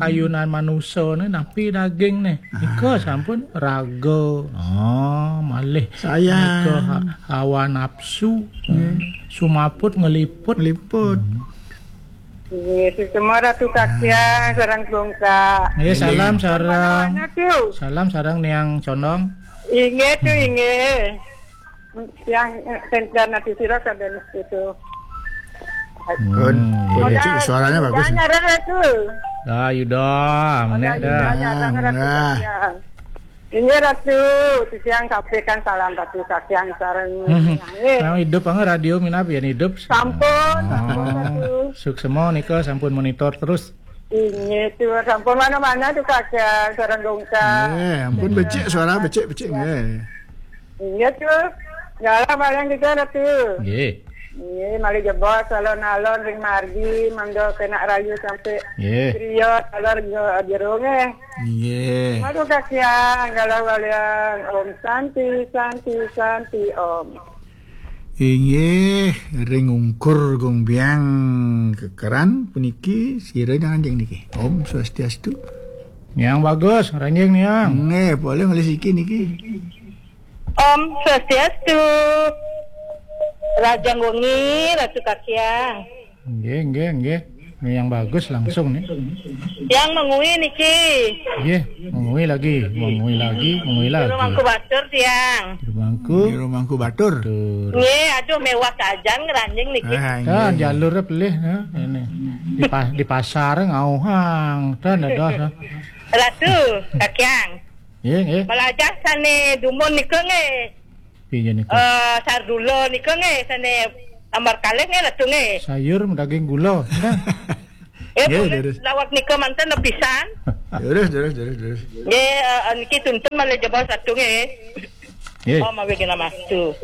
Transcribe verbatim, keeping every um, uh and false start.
ayunan manusa ni, napi daging ni. Nika sampun raga. Oh, malih. Sayang. Nika ha-, hawa nafsu. Sumaput ngeliput. Ngeliput. Hmm. Nggih, semua Ratu Kakyang, sareng Gungkak. Nggih, salam sareng. Mana, Tu? Salam sareng Niang Condong. Inggih, Tu, inggih. Yang, eh, sentran ati sira kabeh mesti, Tu. Hmm. Pun, pun, Cik, suaranya bagus. Jangan, Ratu. Dah, Yuda, menek dah. Jangan, Ratu Kakyang. Inggih, Ratu, titiang sampaikan salam Ratu Kakyang sareng. Hmm. Nggih. Sareng idup, angga radio minab yen idup. Sampun, sampun, Ratu. Suksema nika sampun monitor terus. Inggih, Tu, sampun mana-mana Tu Kakyang sareng Gungkak. Nggih, ampun becik suara, becik, becik, nggih. Inggih, Tu. Galah barang kita, Ratu. Nggih. Nggih, malih jebos alon-alon ring margi, mangda kena rayu sampai griya, alon jero, nggih. Nggih. Aduh, kasihan, galah walian. Om Santi, Santi, Santi, Om. Inggih, ring ungkur Gung Biang Kekeran puniki, sira nyanjing niki. Om Swastiastu. Niang bagus, ranjing niang. Nggih, boleh ngalih siki niki. Om Swastiastu. Rahajeng wengi, Ratu Kakyang. Nggih, nggih, nggih. Niang bagus langsung ni. Tiang mengui niki. Nggih, mengui lagi, mengui lagi, mengui lagi. Jero Mangku Batur tiang. Jero Mangku. Jero Mangku Batur. Tur. Nggih, aduh mewah sajan ngranjing niki. Ah, nggih. Jalur pelih, ha, ini. Di pa-, di pasar ngauhang, tan dados, ha. Ratu, Kakyang. Nggih, nggih. Malajah sane dumun nika nggih. Piye nika? Eh, sardula nika nggih, sane ambar kalih nggih, Ratu nggih. Sayur daging gula. Eh, nggih, boleh. Lawak nika manten lepisan. Terus, terus, terus, terus. Nggih, eh, niki tuntun malih jebos Ratu nggih. Nggih. Oh, mawi kena mastu.